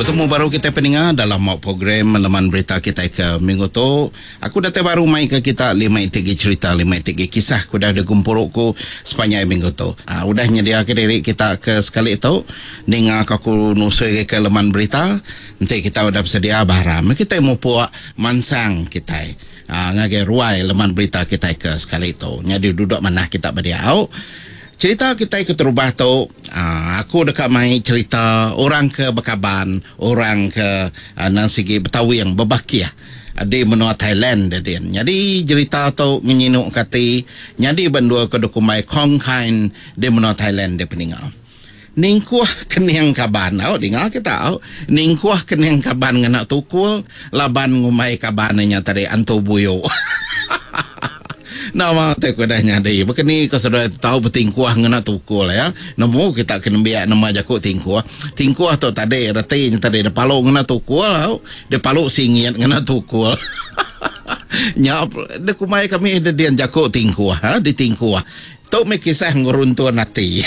Betemu baru kitai peninga dalam mau program Leman Berita kitai ke minggu tu. Aku datai baru mai ke kita lima iti gi cherita lima iti gi kisah ke udah digempuru ku sepanjai minggu tu. Udah nyedia ke diri kita ke sekali tu ninga ke aku nusui ke Leman Berita. Enti kita udah besedia bah aram kitai mupuk mansang kitai ngagai ruai Leman Berita kitai ke sekali tu. Nyadi duduk manah kita ba diau. Cherita kitai keterubah tu, aku deka mai cherita orang ke bekaban, orang ke endang sigi betawing bebakih di menua Thailand deh din. Nyadi jerita tu ngenyinuka ati nyadi ba endur ke dikumbai Khon Kaen di menua Thailand deh peninga. Ningkuh kening kaban au dinga kita au. Ningkuh kening kaban ngena tukul laban ngumbai kaban inya tadi antu buyu. Nama ti ku udah nyadi baka ni ko seduai tu tau betingkuh ngena tukul ya. Nemu kita ke nembiak nama jaku tingkuh. Tingkuh tu tadi reti nya tadi dipalu ngena tukul au. Dipalu singit ngena tukul. Nya dikumbai kami dedin jaku tingkuh ha ditingkuh. Tu meh kisah ngeruntun ati.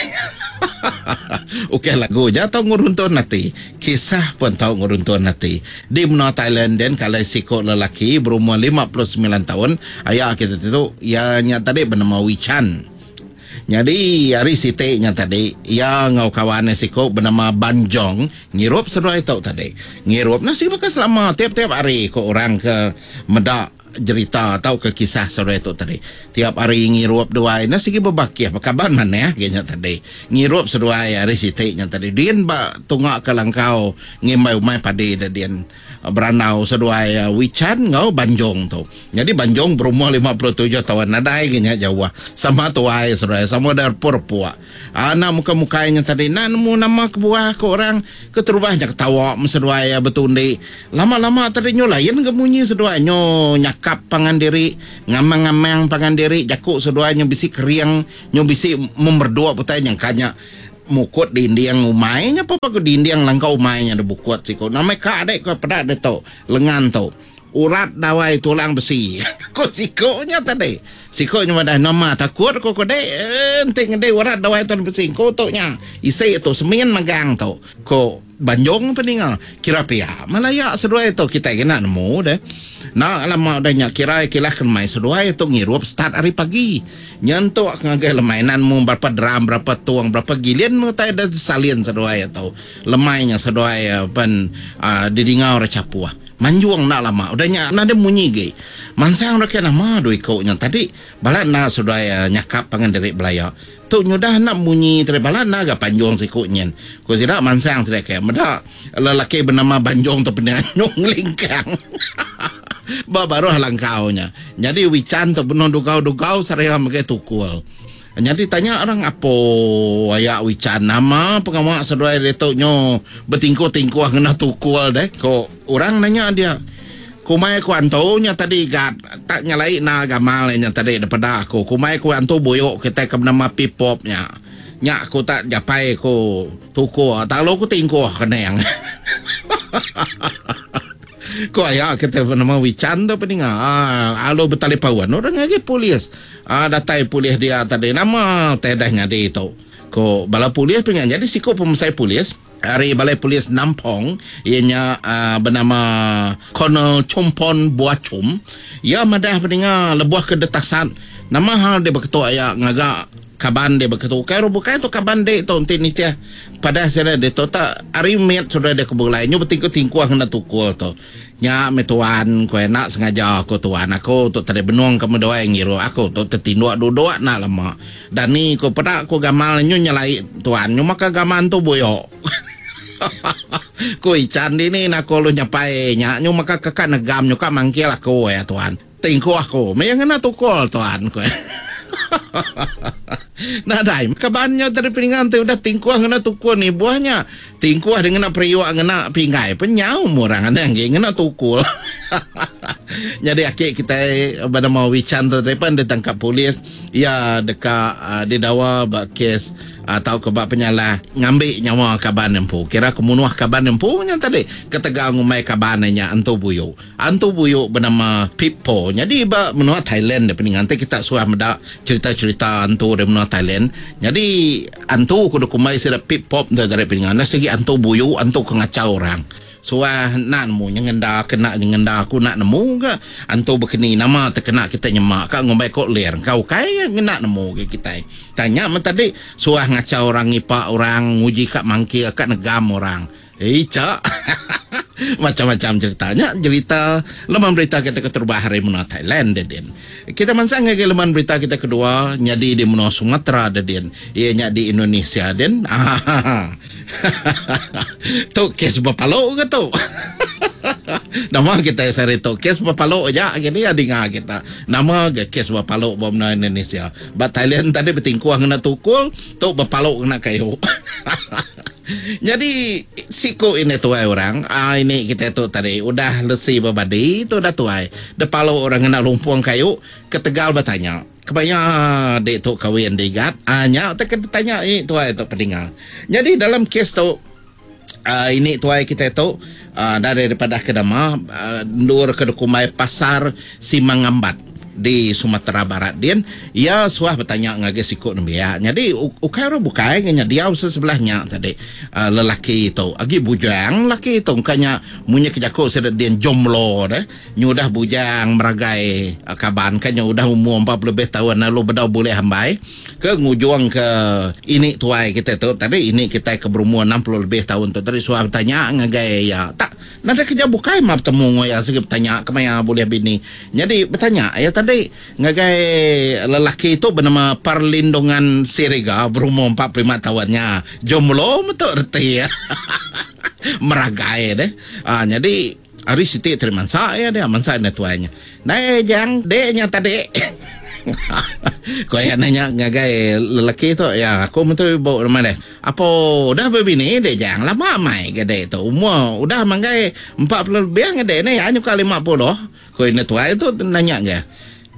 Ukai lagu ja tau ngeruntun ati. Kisah pun tau ngeruntun ati. Di menua Thailand din kalai siku lelaki berumur 59 taun aya kita ti tu iya nya tadi benama Wee Chan. Nyadi hari siti nya tadi iya enggau kawan iya siku benama Ban Jong ngirup seduai tu tadi. Ngirup nasi baka selama tiap-tiap hari ku orang ke meda Jerita tauka kisah seduai tu tadi. Tiap hari ngirup duai enda sigi bebakih bekaban manah agi nya tadi. Ngirup seduai hari siti nya tadi din ba tunga ke langkau ngimbai umai padi da din berandau seduai Wichan enggau Banjong tu. Nyadi Banjong berumur 57 taun nadai agi nya jauh sama tuai seduai sama udah repuk-repuk. Enda mukai-mukai nya tadi enda nemu nama kebuah ku orang keterubah nya ketawa meh seduai iya betundi. Lama-lama tadi nyu lain ga munyi seduai nyu nyakap pangan diri, ngamang-ngamang pangan diri jaku seduai nyu bisi kering nyu bisi memerduk utai nyangka nya mukut dinding umai nya pun ku dinding langkau umai nya dibukut siku. Nama ka dek ku peda ditu lengan tu. Urat dawai tulang besi. Ko siko nya tadi. Siko nya madah nama takut ko ko dek enti ngedi urat dawai tulang besi ko tu nya. Isi tu semin magang tu. Ko Banjong peninga. Kira pia malaya seduai tu kitai kena nemu deh. Enda lama udah nya kira kilah ke lemai seduai tu ngirup start ari pagi. Nyentuk ke ngagai lemai nan mu berapa drum berapa tung berapa gilin meh utai da salin seduai tu. Lemai nya seduai pen didinga orang chapuh. Manjung enda lama udah nya nadai munyi agi. Mansang deka nama dua iku nya tadi balat enda seduai nyakap pangan diri belaya. Tu nyudah enda munyi tadi balat enda ga panjung siku nyin. Ku sida mansang sida ke meda lelaki benama Banjung tu pening anyung ngelingkang ba baruh langkau nya. Nyadi Wichan tu benung dugau-dugau seraya megai tukul. Nyadi tanya orang apo aya Wichan nama pengawa seduai ditu nyu betingkuh-tingkuh ngena tukul deh ko orang nanya dia. Kumai ku antu nya tadi gat tak nyelai enda gamal iya nya tadi dipeda aku. Kumai ku antu buyu kitai ke benama Pipop nya. Nya aku tak japai ku tukul tak lalu ku tingkuh kening. Ku aya kitai benama Wichan tu peninga alu betalipaun orang ngagai polis. Aa datai polis dia tadi nama utai dah nyadi tu ko bala polis pun nyadi siku pemesai polis ari balai polis Nampong iya nya aa benama Colonel Chumpon Buachum iya madah peninga lebuh ke detasat nama hal dek beketu aya ngaga kaban dek beketu ukai orang bukai tu kaban dek tu enti nitih padah sida ditu tak ari mit sudah dek ke begulai nyu betingkuh-tingkuh ngena tukul tu. Nya meh tuan, ku iya enda sengaja ku tuan aku tu tadi benung ke meduai ngirup aku tu tetinduk duduk enda lama. Dani ku peda ku gamal nyu nyelai tuan nyu maka gamal entu buyo. Ku Ichan dini na aku lalu nyapai nya nyu maka ke ka negam nyu ka mangkil aku iya tuan. Tingkuh aku meh iya ngena tukul tuan ku iya. Nadai meh kaban nya tadi peninga enti udah tingkuh ngena tukul nibuh nya. Tingkuh dia ngena periuk ngena pinggai pen nyau meh orang anang agi ngena tukul. Nyadi aki kitai benama Wichan tu tadi pen ditangkap polis iya deka didawa ba kes. tauka ba penyalah ngambi nyawa kaban empu. Kira ke munuh kaban empu nya tadi ketegal ngumbai kaban iya nya antu buyu. Antu buyu benama Pippo. Nyadi ba menua Thailand deh peninga enti kita suah meda cherita-cherita antu ari menua Thailand. Nyadi antu ke dikumbai sida Pippop tu tadi peninga enda sigi antu buyu antu ke ngachau orang. Suah enda nemu nyengenda ke enda nyengenda aku enda nemu ga antu bekeni nama tekena kita nyema ka ngumbai ko ler engka ukai ngena nemu ga kitai. Tang nya meh tadi suah ngachau orang ngipa orang nguji ka mangkir ka negam orang. Icha. Macam-macam cerita nya jerita leman berita kita keterubah ari menua Thailand dedin. Kita mansang ngagai leman berita kita kedua nyadi di menua Sumatera dedin. Iya nya di Indonesia din. Tu kes bepalu ke tu? Nama kitai sehari tu kes bepalu aja agi ni dinga kita. Nama ga kes bepalu ba menua Indonesia. Ba Thailand tadi betingkuh ngena tukul, tu bepalu ngena kayu. Nyadi siku ini tuai orang, ah ini kitai tu tadi udah lesi bebadi tu udah tuai. Depalu orang ngena lumpung kayu ketegal betanya. Kemaya dik tu kawin digat? Ah nya te ke ditanya ini tuai tu pedinga. Nyadi dalam kes tu ah ini tuai kitai tu ah nadai dipadah ke nama endur ke dikumbai Pasar Simangambat di Sumatera Barat din iya suah betanya ngagai siku nembiak. Nyadi ukai orang bukai nya diau sebelah nya tadi lelaki tu agi bujang lelaki tu engka nya munyi ke jaku sida din jomblo deh. Nyudah bujang meragai kaban ka nya udah umur 40 lebih taun lalu bedau bulih ambai ke ngujung ke ini tuai kitai tu tadi ini kitai ke berumur 60 lebih taun tu tadi suah betanya ngagai iya tak nadai kerja bukai mah betemu enggau iya sigi betanya kemaya bulih bini nyadi betanya iya tadi ngagai lelaki tu benama Perlindungan Siriga berumur 45 taun nya jomblo metu reti iya meragai deh nyadi. Ari siti tadi mansa iya dia, mansa indai tuai nya. Nai jang dek nya tadi. Ku iya nanya ngagai lelaki tu, ya aku mentu ibu nama deh. Apo udah bebini dek jang, lama amai ga dek tu. Umur udah manggai 40 lebih ga dek ni, nyuka 50. Ku indai tuai tu nanya ga.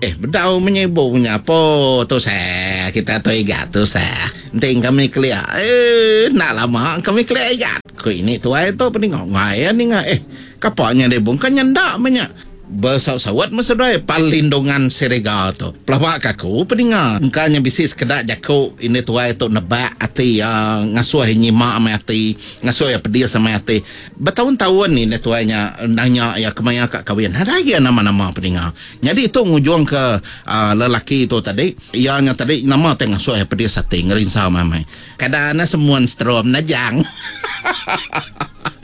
Eh bedau menya ibu menya apo tusah kita tu igat tusah enti kami kelia eh enda lama kami kelia igat ku ini tuai tu peninga ngai iya ninga eh kapa nya deh bungka nya enda menya besaut-saut meh seduai Perlindungan Seriga tu pelaba ka aku peninga engka nya bisi sekeda jaku ini tuai tu nebak ati iya ngasuh iya nyima meh ati ngasuh iya pedis amai ati. Betaun-taun indai tuai nya nanya iya kemaya ka kawin. Nadai agi iya nama-nama peninga. Nyadi tu ngujungka lelaki tu tadi, iya nya tadi nama tai ngasuh iya pedis ati ngerinsa amai-amai. Kada ne semun strom nejang.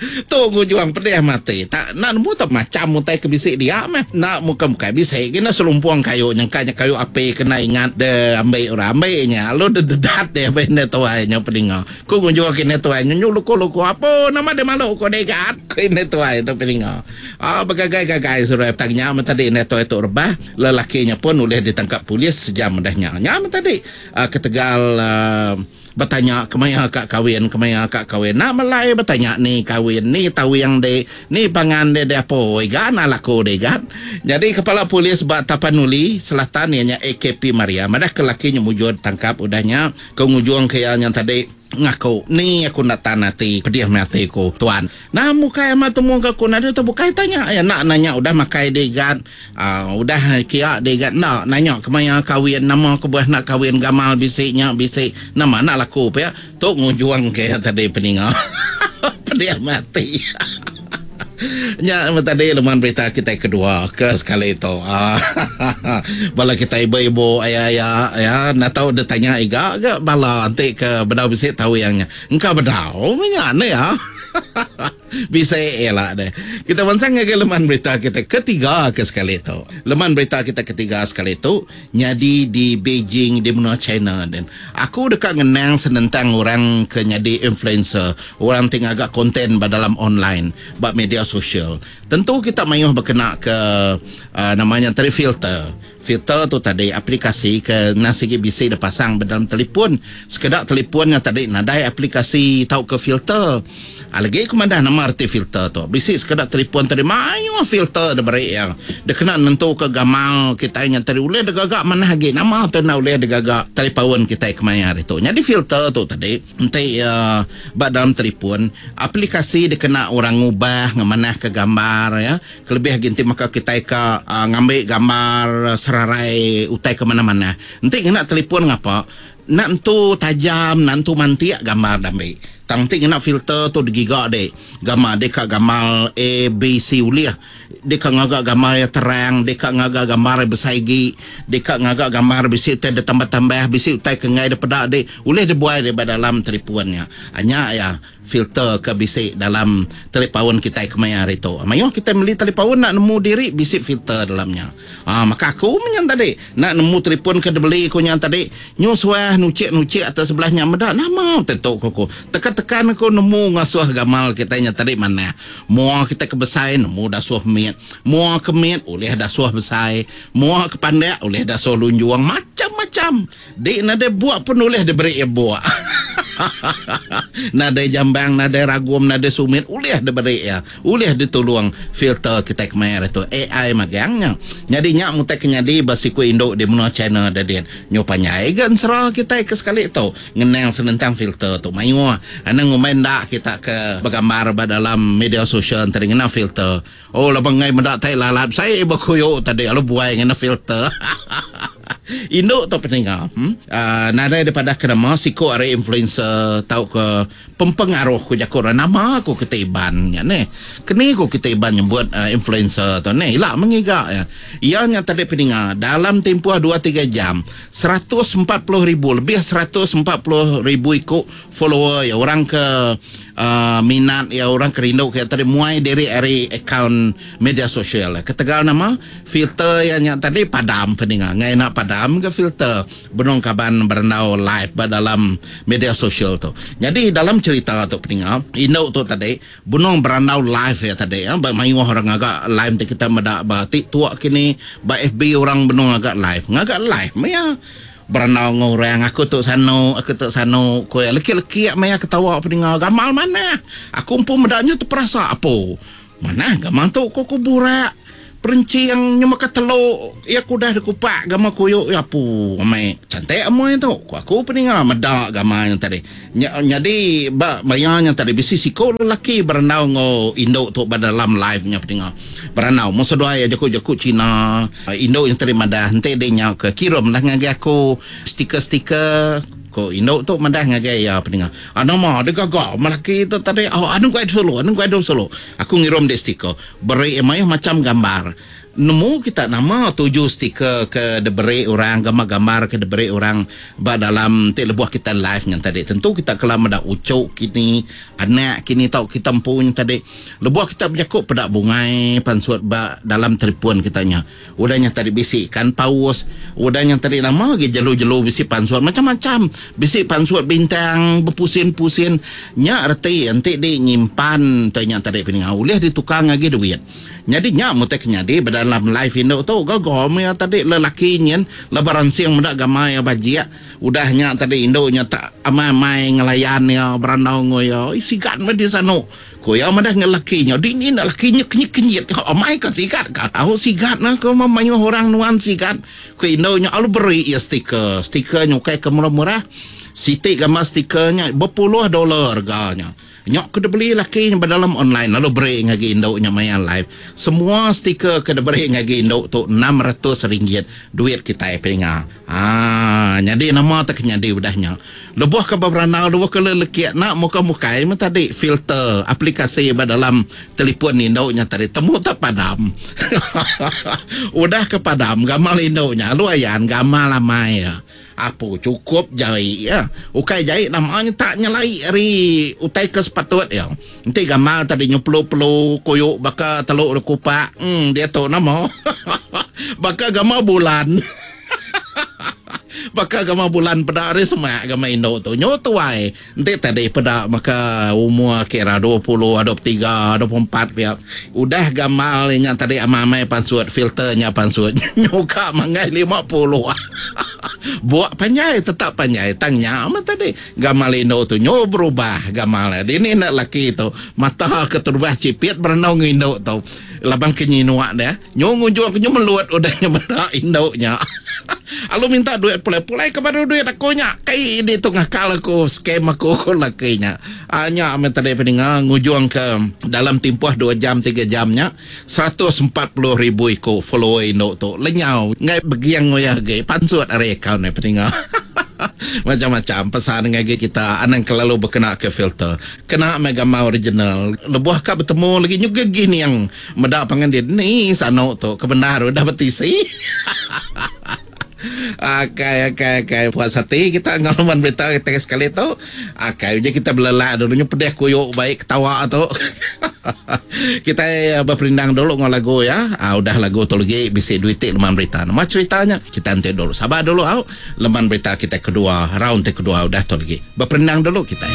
Tu ngujung pedih mati. Tak enda nemu tu macham utai ke bisi dia meh. Enda mukai-mukai bisi gi ne selumpung kayu nyengka nya kayu api kena ingat de ambi orang ambi nya lalu de dedat deh ba indai tuai nya peninga. Ku ngunjung ke indai tuai nyu luku-luku apo nama deh malu ku deh gat ku indai tuai tu peninga. Aa begagai-gagai seduai petang nya meh tadi indai tuai tu rebah lelaki nya pun ulih ditangkap polis sejam udah nya. Nya meh tadi aa ketegal aa betanya kemaya ka kawin kemaya ka kawin enda melai betanya ni kawin ni tawing deh ni pangan deh deh apo iga enda laku deh gat. Nyadi kepala polis ba Tapanuli Selatan iya nya AKP Maria madah ke lelaki nya mujur ditangkap udah nya. Ke ngujung ke iya nya tadi ngaku, Ni aku enda tan ati, pedih meh ati ku, tuan. Nah mukai amat temu ke aku nadai tu bukai tanya iya enda nanya udah makai di igat, aaa udah kia di igat enda nanya kemaya kawin nama kebuah enda kawin gamal bisi nya bisi nama enda laku pia. Tu ngujung ke iya tadi peninga pedih meh ati. Nya meh tadi leman berita kitai kedua ke sekali tu. Bala kitai ibu-ibu aya-aya ya enda tau deh tanya iga ga bala enti ke bedau bisi tawing nya. Engka bedau meh nya neh ya. Bisi ila deh. Kita mansang ngagai leman berita kitai ketiga ke sekali tu. Leman berita kitai ketiga sekali tu nyadi di Beijing di menua China din. Aku deka ngenang senentang orang ke nyadi influencer, orang ti ngaga konten ba dalam online, ba media sosial. Tentu kita mayuh bekena ke uhh nama nya tadi filter. Filter tu tadi aplikasi ke endang sigi bisi dipasang ba dalam telefon. Sekeda telefon nya tadi nadai aplikasi tauka filter. Lagi ku madah nama reti filter tu. Bisi sekeda telefon tadi mayuh filter diberi iya dikena nentuka gamal kitai nya tadi ulih digaga manah agi. Nama tu enda ulih digaga talipaun kitai kemaya hari tu. Nyadi filter tu tadi enti iya ba dalam telefon aplikasi dikena orang ngubah ngemanahka gambar iya. Kelebih agi enti maka kitai ka ngambi gambar serarai utai ke manah-manah. Enti ngena telefon ngapa, enda entu tajam, enda entu mantik gambar diambi. Tang enti ngena filter tu digiga dik, gambar dik ka gamal A, B, C ulih. Dik ka ngaga gambar iya terang, dik ka ngaga gambar iya besai agi, dik ka ngaga gambar bisi utai ditambah-tambah, bisi utai ke enggai dipeda dik, ulih dibuai dik ba dalam telefon nya. Nya iya. Filter ke bisi dalam talipaun kitai kemaya hari tu. Mayuh kitai meli talipaun enda nemu diri bisi filter dalam nya. Aa maka aku meh nya tadi enda nemu telefon ke dibeli ku nya tadi nyu suah nuchik-nuchik atas sebelah nya meda nama utai tu ku aku. Tekan-tekan aku nemu ngasuh gamal kitai nya tadi manah. Mua kitai ke besai nemu dasuh mit, mua ke mit ulih dasuh besai, mua ke pandak ulih dasuh lunjung macam-macam. Di nadai buk pun ulih diberi iya buk. Nadai jambang, nadai ragum, nadai sumit ulih diberi iya. Ulih ditulung filter kitai kemaya hari tu. AI magang nya. Nyadi nya mutai ke nyadi ba siku indu di menua China da din. Nyu panjai ga ensera kitai ke sekali tu ngenang senentang filter tu. Mayuh anang ngumbai enda kita ke begambar ba dalam media sosial enti ngena filter. Oh laban enggai meda tai lalat sai bekuyu tadi lalu buai ngena filter. Indu tu peninga hmm? Nadai dipadah ke nama siku ari influencer tauka pempengaruh ku jaku orang nama ku kita Iban nya neh. Keni ku kita Iban nyebut influencer tu neh ila mengiga iya. Iya nya tadi peninga dalam timpuh 2 3 jam 140 ribu lebih 140,000 iku follower iya orang ke minat iya orang ke rindu ke iya tadi muai diri ari akaun media sosial iya. Ketegal nama filter iya nya tadi padam peninga. Enggai enda padam ga filter benung kaban berandau live ba dalam media sosial tu. Nyadi dalam cherita tu peninga indu tu tadi benung berandau live iya tadi ba mayuh orang ngaga live ti kita meda ba tiktok kini ba FB orang benung ngaga live. Ngaga live meh iya. Berandau enggau orang, aku tu sanu, aku tu sanu, ku iya. Lekik-lekik maya ketawa peninga gamal manah. Aku empu meda nya teperasa apu. Manah gamal tu ku aku burak. Perenching nyema ke telu iya ke udah dikupak gamal kuyu iya apu amai. Cantik amoi tu ku aku peninga meda gamal nya tadi. Nya nyadi ba maya nya tadi bisi siku lelaki berandau enggau indu tu ba dalam live nya peninga. Berandau mung seduai iya jaku-jaku Cina. Indu nya tadi madah enti dek nya ke kirum lah ngagai aku stiker-stiker ko indu tu madah ngagai iya peninga. Ah nama dek gaga melaki tu tadi oh anu guai sulu anu guai sulu aku ngirum dek stiker beri iya mayuh macam gambar. Nemu kita nama tuju stiker ke diberi orang gambar-gambar ke diberi orang ba dalam ti lebuh kita live nya tadi tentu kita kala meda uchu kini anak kini tau kita empu nya tadi. Lebuh kita bejaku peda bungai pansut ba dalam telefon kita nya. Udah nya tadi bisi ikan paus, udah nya tadi nama agi jelu-jelu bisi pansut macam-macam. Bisi pansut bintang bepusin-pusin. Nya reti enti di nyimpan te nya tadi peninga ulih ditukar agi duit. Nyadi nya mutai ke nyadi ba dalam live indu tu gaga meh iya tadi lelaki nyin laban ransing meda gamal iya bajik. Udah nya tadi indu nya tak amai-amai ngelayan iya berandau enggau iya. Oi sigat meh di sanu. Ku iya madah enggau laki nya, Dini enda laki nya kenyit-kenyit. Amai ka sigat ka. Au sigat nah ku mayuh orang nuan sigat. Ku indu nya lalu beri iya stiker. Stiker nya ukai ke murah-murah. Siti gambar stiker nya bepuluh dolar rega nya. Nya ke dibeli laki nya ba dalam online lalu beri ngagai indu nya maya live. Semua stiker ke diberi ngagai indu tu 600 ringgit duit kitai peninga. Haa nyadi nama te ke nyadi udah nya. Lebuh ke beberandau lebuh ke lelekik enda muka mukai meh tadi filter aplikasi ba dalam telefon indu nya tadi temu te padam. Udah ke padam gamal indu nya alu ayan gamal amai iya. Apu chukup jai iya. Ukai jai nama nya tak nyelai ari utai ke sepatut iya. Enti gamal tadi nyu pelu-pelu kuyu baka telu dekupak em diatu nama baka gamal bulan. Baka gamal bulan peda ari semak gamal indu tu. Nyu tuai enti tadi peda maka umur kira 20, 23, 24 pia. Udah gamal nya tadi amai-amai pansut filter nya pansut nyu ka manggai 50. Buk panjai tetap panjai tang nya meh tadi gamal indu tu nyu berubah gamal iya. Dini enda laki tu mata keterubah chipit berandau enggau indu tu laban ke nyinuk deh. Nyu ngujung ke nyu melut udah nya meda indu nya. Alu minta duit pulai. Pulai ke baru duit aku nya. Kai ini tu ngakal aku scam aku ku laki nya. Aa nya meh tadi peninga ngujung ke dalam timpuh dua jam tiga jam nya 140 ribu iku follower indu tu lenyau enggai beging uyah agi pansut ari akaun iya peninga. Macam-macam pesan ngagai kita anang kelalu bekena ke filter. Kena meh gambar original. Lebuh ka betemu lagi nyuga gining. Meda pangan dia ni sanu tu ke bendar udah betisi. Akai akai akai puas ati kita enggau leman berita kita sekali tu. Akai uji kita belelak dulu nyu pedih kuyu baik ketawa tu. Kita beperindang dulu enggau lagu ya. Ah, udah lagu tu lagi bisi duit ti leman berita. Nama ceritanya? Kita enti dulu. Sabar dulu au. Leman berita kita kedua, round ti kedua udah tu lagi. Beperindang dulu kita.